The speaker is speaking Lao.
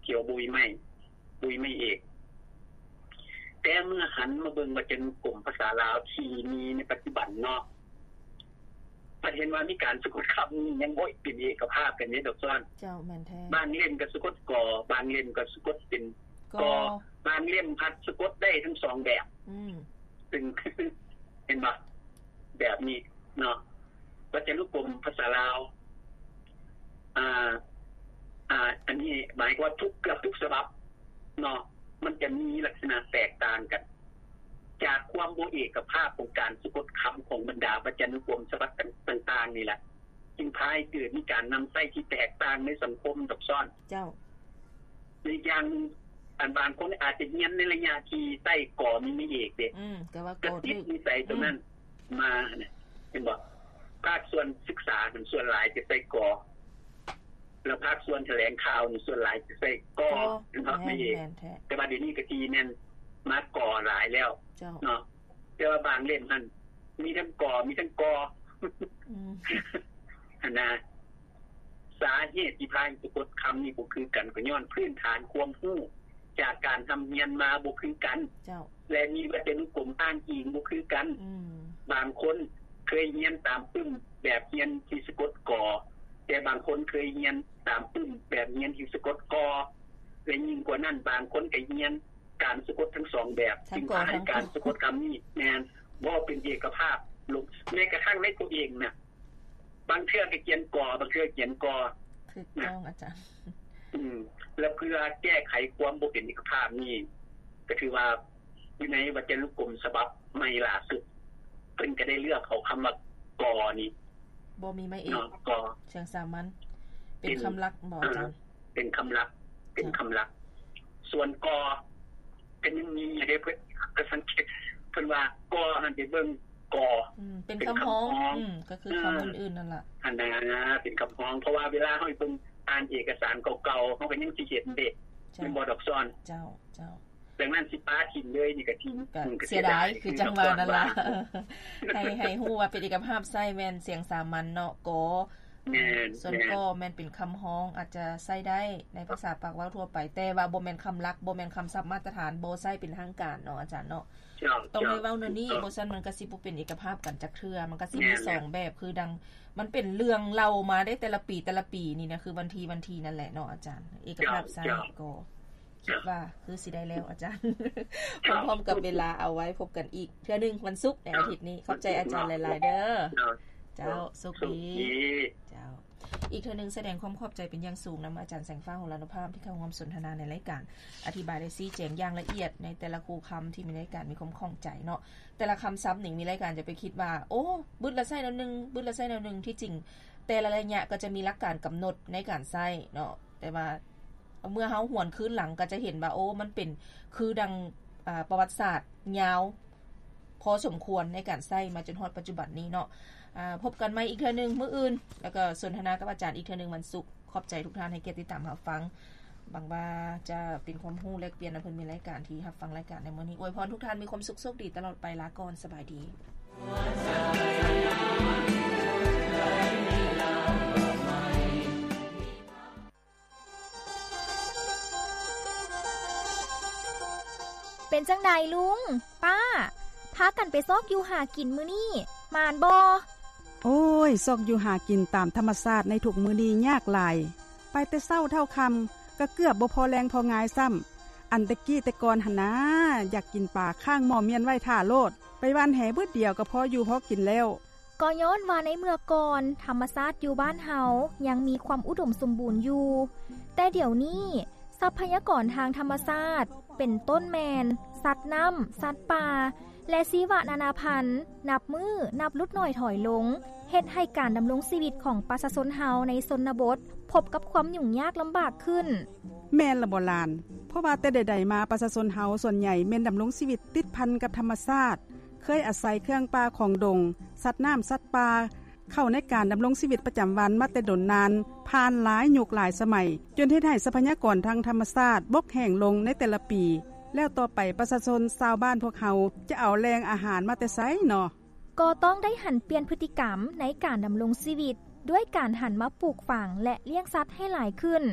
ກ່ຽວບຸຍໄມ້ ບຸຍໄມ້ເອກ. ແຕ່ເມື່ອຫັນມາເບິ່ງວັດຈະນຸກົມພາສາລາວທີ່ມີໃນປັດຈຸບັນເນາະ ພັດເຫັນວ່າມີການສະກົດຄຳນີ້ຍັງບໍ່ເປັນເອກະພາບກັນເດ້ດອກຊອນ. ເຈົ້າ ແມ່ນແທ້. ບາງເຫຼັ້ມກໍສະກົດ ກ ບາງເຫຼັ້ມກໍສະກົດເປັນ ກ ກ ບາງເຫຼັ້ມພັດສະກົດໄດ້ທັງສອງແບບ. ອືມ ຊຶ່ງ ເຫັນບໍ່? ແບບນີ້ເນາະ ວັດຈະນຸກົມພາສາລາວ ອ່າ ອ່າ ອັນນີ້ໝາຍຄວາມວ່າທຸກ ເກືອບທຸກສະບັບເນາະ ມັນຈະມີລັກສະນະແຕກຕ່າງກັນ ຈາກຄວາມບໍ່ເອກະພາບຂອງການສະກົດຄຳຂອງບັນດາວັດຈະນຸກົມສະບັບຕ່າງໆນີ້ແຫຼະ ຈຶ່ງພາໃຫ້ເກີດມີການນຳໃຊ້ທີ່ແຕກຕ່າງໃນສັງຄົມດອກຊອນ. ເຈົ້າ. ອີກຢ່າງໜຶ່ງ ອັນບາງຄົນອາດຈະຮຽນໃນໄລຍະທີ່ໃຊ້ ກ ມີໄມ້ເອກເດ້ ອືມ ກໍວ່າ ກໍຕິດນິໄສຕົວນັ້ນ ອືມ ມານະ ເຫັນບໍ່? ພາກສ່ວນສຶກສານັ້ນສ່ວນຫຼາຍຈະໃຊ້ ກ ແລ້ວພາກສ່ວນຖະແຫຼງຂ່າວນີ້ສ່ວນຫຼາຍຈະໃຊ້ ກ ເນາະ ໄມ້ເອກ. ແມ່ນແທ້. ແຕ່ວ່າດຽວນີ້ກະຊິແມ່ນມາ ກ ຫຼາຍແລ້ວ ເຈົ້າ ເນາະ. ແຕ່ວ່າບາງເຫຼັ້ມຫັ້ນມີທັງ ກ ມີທັງ ກ ອືມ ຫັ້ນນະ. ສາເຫດທີ່ພາໃຫ້ສະກົດຄຳນີ້ບໍ່ຄືກັນ ກໍຍ້ອນພື້ນຖານຄວາມຮູ້ຈາກການຮ່ຳຮຽນມາບໍ່ຄືກັນ ເຈົ້າ ແລະ ມີວັດຈະນຸກົມອ້າງອີງບໍ່ຄືກັນ. ອືມ ບາງຄົນເຄີຍຮຽນຕາມປຶ້ມແບບຮຽນທີ່ສະກົດ ກ ແຕ່ບາງຄົນເຄີຍຮຽນຕາມປຶ້ມແບບຮຽນທີ່ສະກົດ ກ ແລະ ຍິ່ງກວ່ານັ້ນ ບາງຄົນກໍຮຽນການສະກົດທັງສອງແບບ ຈຶ່ງພາໃຫ້ການສະກົດຄຳນີ້ ແມ່ນ ບໍ່ເປັນເອກະພາບລົງ. ແມ້ກະທັ່ງໃນຕົວເອງນະ ບາງເທື່ອກໍຂຽນ ກ ບາງເທື່ອຂຽນ ກ. ຖືກຕ້ອງ ອາຈານ. ອືມ ແລະ ເພື່ອແກ້ໄຂຄວາມບໍ່ເປັນເອກະພາບນີ້ ກໍຖືວ່າຢູ່ໃນວັດຈະນຸກົມສະບັບໃໝ່ລ່າສຸດ ເພິ່ນກໍໄດ້ເລືອກເອົາຄຳວ່າ ກ ນີ້ ບໍ່ມີໄມ້ເອກ ເນາະ ກ ສຽງສາມັນ ເປັນຄຳຫຼັກບໍອາຈານ? ເປັນຄຳຫຼັກ ເປັນຄຳຫຼັກ. ສ່ວນ ກ ກໍຍັງມີຢູ່ເດ້ ເພິ່ນ ກໍສັງເກດ ເພິ່ນວ່າ ກ ຫັ້ນໄປເບິ່ງ ກ ອືມ ເປັນຄຳຮ້ອງ ເປັນຄຳຮ້ອງ ອືມ ກໍຄືຄຳອື່ນໆນັ້ນລະ ຫັ້ນນະ ເປັນຄຳຮ້ອງ. ເພາະວ່າເວລາເຮົາໄປເບິ່ງ ອ່ານເອກະສານເກົ່າໆ ເຮົາກໍຍັງຊິເຫັນເດ້ ເຈົ້າ ແມ່ນບໍ່ດອກຊອນ? ເຈົ້າ ເຈົ້າ. ດັ່ງນັ້ນຊິປະຖິ້ມເລີຍນີ້ກໍ ກໍເສຍດາຍ ຄືຈັ່ງວ່ານັ້ນລະ ໃຫ້ ໃຫ້ຮູ້ວ່າເປັນເອກະພາບໃຊ້ແມ່ນສຽງສາມັນເນາະ ກ. ແມ່ນ ສ່ວນ ແມ່ນ ກໍແມ່ນເປັນຄຳຮ້ອງ ອາດຈະໃຊ້ໄດ້ໃນພາສາປາກເວົ້າທົ່ວໄປ ແຕ່ວ່າບໍ່ແມ່ນຄຳຫຼັກ ບໍ່ແມ່ນຄຳສັບມາດຕະຖານ ບໍ່ໃຊ້ເປັນທາງການເນາະອາຈານເນາະ. ເຈົ້າ ຕ້ອງໄດ້ເວົ້າແນວນີ້ ເຈົ້າ ບໍ່ຊັ້ນມັນກໍຊິບໍ່ເປັນເອກະພາບກັນຈັກເທື່ອ ມັນກໍຊິມີ ແມ່ນ ສອງແບບ ຄືດັ່ງ ມັນເປັນເລື່ອງເລົ່າມາໄດ້ແຕ່ລະປີ ແຕ່ລະປີນີ້ນະ ຄືວັນທີ ວັນທີນັ້ນແຫຼະເນາະອາຈານ ເອກະພາບໃຊ້ ເຈົ້າ ກໍ ຄິດວ່າຄືຊິໄດ້ແລ້ວອາຈານ ເຈົ້າ ພ້ອມໆກັບເວລາ ເອົາໄວ້ພົບກັນອີກເທື່ອໜຶ່ງວັນສຸກໃນອາທິດນີ້. ເຈົ້າ ຂອບໃຈອາຈານຫຼາຍໆເດີ. ເຈົ້າ ເຈົ້າ ໂຊກດີ ໂຊກດີ ເຈົ້າ. ອີກເທື່ອໜຶ່ງສະແດງຄວາມຂອບໃຈເປັນຢ່າງສູງນຳອາຈານແສງຟ້າ ຫົງລານຸພາບ ທີ່ເຂົ້າຮ່ວມສົນທະນາໃນລາຍການ ອະທິບາຍ ແລະ ຊີ້ແຈງຢ່າງລະອຽດໃນແຕ່ລະຄູ່ຄຳທີ່ມີລາຍການມີຄວາມຂ້ອງໃຈເນາະ. ແຕ່ລະຄຳສັບນີ້ມີລາຍການຈະໄປຄິດວ່າ ໂອ້ ບຶດລະໃຊ້ແນວໜຶ່ງ ບຶດລະໃຊ້ແນວໜຶ່ງ ທີ່ຈິງແຕ່ລະໄລຍະກໍຈະມີຫຼັກການກຳນົດໃນການໃຊ້ເນາະ ແຕ່ວ່າ ເມື່ອເຮົາຫວນຄືນຫຼັງກໍຈະເຫັນວ່າ ໂອ້ ມັນເປັນຄືດັ່ງ ອາ ປະຫວັດສາດຍາວພໍສົມຄວນໃນການໃຊ້ມາຈົນຮອດປັດຈຸບັນນີ້ເນາະ. ອາ ພົບກັນໃໝ່ອີກເທື່ອໜຶ່ງມື້ອື່ນ ແລ້ວກໍສົນທະນາກັບອາຈານອີກເທື່ອໜຶ່ງວັນສຸກ. ຂອບໃຈທຸກທ່ານໃຫ້ກຽດຕິດຕາມຮັບຟັງ. ຫວັງວ່າຈະເປັນຄວາມຮູ້ແລກປ່ຽນນຳເພິ່ນ ມີລາຍການທີ່ຮັບຟັງລາຍການໃນມື້ນີ້. ອວຍພອນທຸກທ່ານມີຄວາມສຸກໂຊກດີຕະຫຼອດໄປ. ລາກ່ອນ ສະບາຍດີ. ເປັນຈັ່ງໃດລຸງ, ປ້າ, ພາກັນໄປຊອກຢູ່ຫາກິນມື້ນີ້ ໝານບໍ່? ໂອ້ຍ, ຊອກຢູ່ຫາກິນຕາມທຳມະຊາດໃນທຸກມື້ນີ້ຍາກຫຼາຍ. ໄປແຕ່ເຊົ້າເທົ່າຄ່ຳ ກະເກືອບບໍ່ພໍແລງພໍງາຍຊ້ຳ. ອັນແຕ່ກີ້ແຕ່ກ່ອນຫັ້ນນາ, ຢາກກິນປາຄ້າງໝໍ້ມ້ຽນໄວ້ຖ້າໂລດ, ໄປຫວ່ານແຫບຶດດຽວກະພໍຢູ່ພໍກິນແລ້ວ. ກໍຍ້ອນວ່າໃນເມື່ອກ່ອນ ທຳມະຊາດຢູ່ບ້ານເຮົາຍັງມີຄວາມອຸດົມສົມບູນຢູ່, ແຕ່ດຽວນີ້ ຊັບພະຍາກອນທາງທຳມະຊາດ ເປັນຕົ້ນແມ່ນ ສັດນ້ຳ, ສັດປ່າ ແລະ ຊີວະນານາພັນ ນັບມື້ນັບຫຼຸດໜ້ອຍຖອຍລົງ, ເຮັດໃຫ້ການດຳລົງຊີວິດຂອງປະຊາຊົນເຮົາໃນຊົນນະບົດ ພົບກັບຄວາມຫຍຸ້ງຍາກລຳບາກຂຶ້ນ. ແມ່ນລະບໍຫຼານ, ເພາະວ່າແຕ່ໃດໆມາ ປະຊາຊົນເຮົາສ່ວນໃຫຍ່ແມ່ນດຳລົງຊີວິດຕິດພັນກັບທຳມະຊາດ, ເຄີຍອາໄສເຄື່ອງປ່າຂອງດົງ, ສັດນ້ຳ, ສັດປ່າ ເຂົ້າໃນການດຳລົງຊີວິດປະຈຳວັນມາແຕ່ດົນນານ, ຜ່ານຫຼາຍຍຸກຫຼາຍສະໄໝ, ຈົນເຮັດໃຫ້ຊັບພະຍາກອນທາງທຳມະຊາດບົກແຫ້ງລົງໃນແຕ່ລະປີ, ແລ້ວຕໍ່ໄປປະຊາຊົນຊາວບ້ານພວກເຮົາຈະເອົາແຫຼ່ງອາຫານມາແຕ່ໃສເນາະ? ກໍຕ້ອງໄດ້ຫັນປ່ຽນພຶດຕິກຳໃນການດຳລົງຊີວິດ ດ້ວຍການຫັນມາປູກຝັງ ແລະ ລ້ຽງສັດໃຫ້ຫຼາຍຂຶ້ນ.